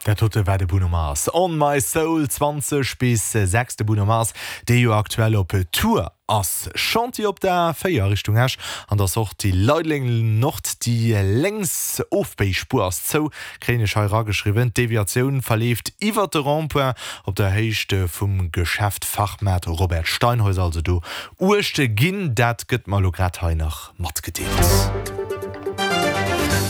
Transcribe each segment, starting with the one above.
Dat dote war de Bruno Mars, On My Soul, 20 bis 6. De Bruno Mars, dee jo aktuell op Tour ass. Chantier op der A4 Richtung Esch an der Sortie Leideleng Nord. Déi lénks Ofbéispuer ass zou, kréien ech hei erageschriwwen. D'Deviatioun verleeft iwwert de Rond-point op der Héicht vum Geschäft Fachmaart Robert Steinhäuser. Also do Uecht ginn, dat gëtt mer elo grad hei nach matgedeelt.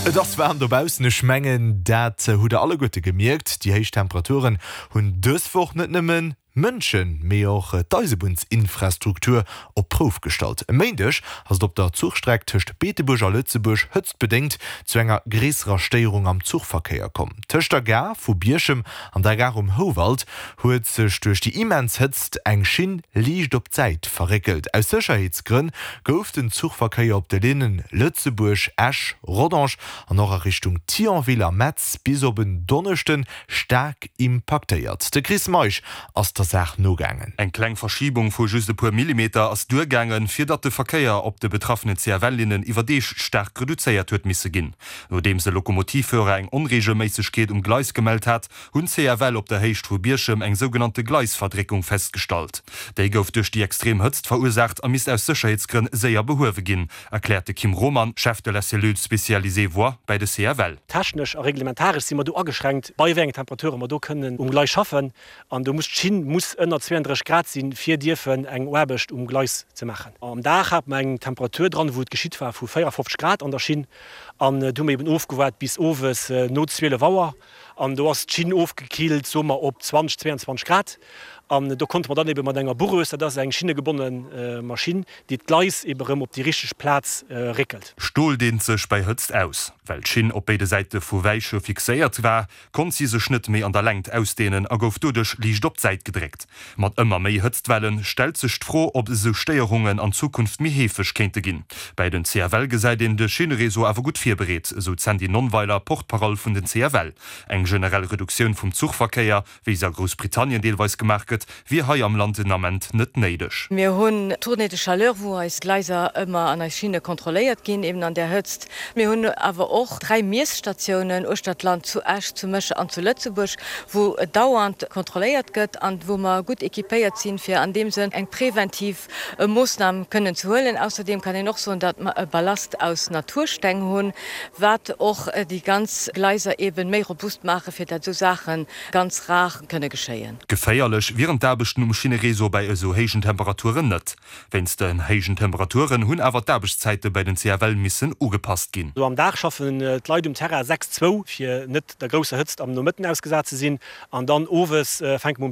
Et ass waarm dobaussen, ech mengen dat hutt der alleguerte gemierkt. Déi héich Temperaturen hunn dës Woch net nëmmen Mënschen, mee och d'Eisebunnsinfrastruktur op d'Prouf gestallt. E Méindeg ass et op der Zuchstreck tëscht Beetebuerg a Lëtzebuerg hëtztbedéngt zu enger gréisserer Stéierung am Zuchverkéier komm. Tëscht der Gare vu Bierchem an der Gare um Houwald huet sech duerch déi immens Hëtzt eng Schinn liicht op d'Säit verréckelt. Aus Sécherheetsgrënn gouf den Zuchverkéier op de Linnen Lëtzebuerg, Esch, Rodange an och a Richtung Thionville a Metz bis op en Donneschden staark impaktéiert. De Chris Meisch ass der Saach nogaangen. Eng kleng Verschibung vu just e puer Millimeter ass duergaangen, fir datt de Verkéier op de betraffene CFL-Linnen iwwer Deeg staark reduzéiert huet misse ginn. Nodeems e Lokomotivführer eng Onreegelméissegkeet um Gleis gemellt hat, hunn d'CFL op der Héicht vu Bierchem eng sougenannte Gleisverdréckung festgestallt. Déi gouf duerch déi extrem Hëtzt verursaacht a misst aus Sécherheetsgrënn séier behuewe ginn, erkläert de Kim Roman, Chef de la cellule spécialisée voies bäi de CFL. Technesch a reglementaresch si mer do ageschränkt, bei wéi engen Temperature mer do kënnen um Gleis schaffen. An do muss d'Schinn muss ënner 32 Grad sinn, fir dierfen eng Aarbecht um Gleis ze maachen. Am Dag hat mer eng Temperatur dran, wou et geschitt war, vu 54 Grad an der Schinn. An do hu mer eben ofgewaart bis owes no 12 Auer. An do ass d'Schinn ofgekillt, soe mer op 20, 22 Grad. An do konnte mer dann ebe mat enger Bourreuse, dat ass eng schinnegebonne Maschinn, déi d'Gleis ebe rëm op déi richteg Plaz réckelt. Stol deent sech bei Hëtzt aus. Well d'Schinn op béide Säite vu Weiche fixéiert war, konnt si sech net méi an der Längt ausdeenen a gouf doduerch liicht op d'Säit gedréckt. Mat ëmmer méi Hëtztwelle stellt sech d'Fro, ob esou Stéierungen an Zukunft méi heefeg kéinte ginn. Bäi den CFL gesäit een de Schinnereseau awer gutt virbereet, esou d'Sandy Nonnweiler, Porte-parole vun den CFL. Eng generell Reduktioun vum Zuchverkéier, wéi se a Groussbritannien deelweis gemaach gëtt, wier hei am Land den Ament net néideg. Mir hunn Tournée de chaleur, wou eis Gleiser ëmmer an eis Schinne kontrolléiert ginn, eben an där Hëtzt. Mir hunn awer och 3 Miesstatiounen uechter d'Land, zu Esch, zu Mécher an zu Lëtzebuerg, wou dauernd kontrolléiert gëtt an wou mer gutt équipéiert sinn, fir an deem Sënn eng preventiv Moossnam kënnen ze huelen. Ausserdeem kann een och soen, datt mer e Ballast aus Natursteng hunn, wat och déi ganz Gleiser eben méi robust maachen, fir datt esou Saache ganz rar kënne geschéien. Geféierlech wieren d'Aarbechten um Schinnereseau bäi esou héijen Temperaturen net. Wéinst den héijen Temperaturen hunn awer d'Aarbechtszäite bei den CFL missen ugepasst ginn. Am Dag schaffen d'Leit um Terrain 6, zwou, fir net der grousser Hëtzt am Nomëtten ausgesat ze sinn. An dann owes fänke mer um.